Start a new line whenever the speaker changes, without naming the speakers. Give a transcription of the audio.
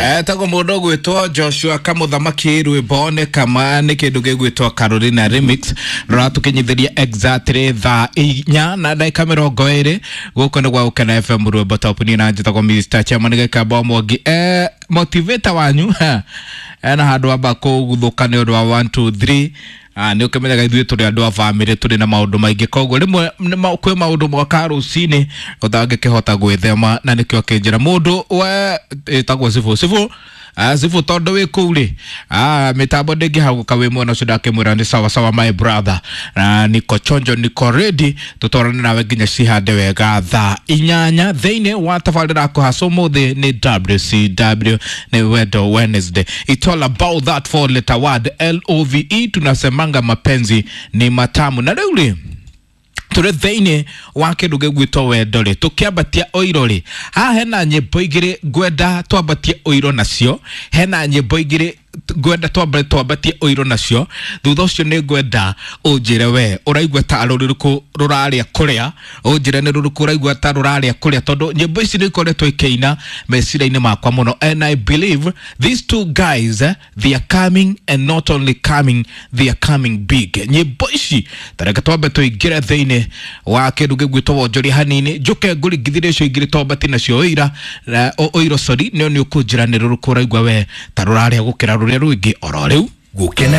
Etagwo mũndũ ũgwĩtwo Joshua Kamũthamaki, rwĩmbo nĩ kama nĩ kĩndũ gĩgwĩtwo Carolina Remix, rũratũkinyithĩria exactly 4:20. Gũkũ nĩ gwa Gũkena FM, rwĩmbo top. Niĩ na njĩtagwo Mr. Chairman Gĩkamba Mwangi, motivator wanyu ena handũ amba kũguthũka nĩ ũndũ wa 1 2 3. Nä å kä menyaga ithuä tå rä andå a bamä tå rä na maå ndå maingä, koguo rä mwe kwä maå ndå moka rå cinä å tangä kä hota gwä na nä kä o kä njä ra må ndå we ätagwo cibå cibå cibå tondå wä kå u rä mä tambo ndä ngä hagå ka wä mwena å cio ndakä mwä ra nä sawa sawa, my brother, na niko chonjo, niko ready tũtwarane nawe nginya cihande wega 8:00 thĩinĩ wa tabarĩra kũhaca. Ũmũthĩ nĩ WCW, nĩ Wendo Wednesday. It's all about that four letter word, LOVE. Tunasemanga mapenzi ni matamu, na rĩu rĩ tũrĩ thĩinĩ wa kĩndũ gĩgwĩtwo wendo rĩ, tũkĩambatia ũiro rĩ, haha hena nyĩmbo igĩrĩ ngwenda twambatie ũiro nacio, hena nyĩmbo igĩrĩ ngwenda twambatie ũiro nacio. Thutha ũcio nĩ ngwenda ũnjĩre we ũraigua ta rũrĩrĩkũ rũrarĩa kũrĩa, ũnjĩre nĩ rũrĩkũ ũraigua ta rũrarĩa kũrĩa, tondũ nyĩmbo ici nĩ ikoretwo ikĩina meciria-inĩ makwa mũno, and I believe these two guys, they are coming, and not only coming, they are coming big. Nyĩmbo ici, tareke twambe tũingĩre thĩinĩ wa kĩndũ gĩgwĩtwo wonjoria hanini, njũke ngũringithĩrie icio igĩrĩ twambatie nacio ũira ũiro, sorry, nĩ ũkũnjĩra nĩ rũrĩkũ ũraigua we ta rũrarĩa gũkĩra rũrĩa rũngĩ oro rĩu.
Gũkena.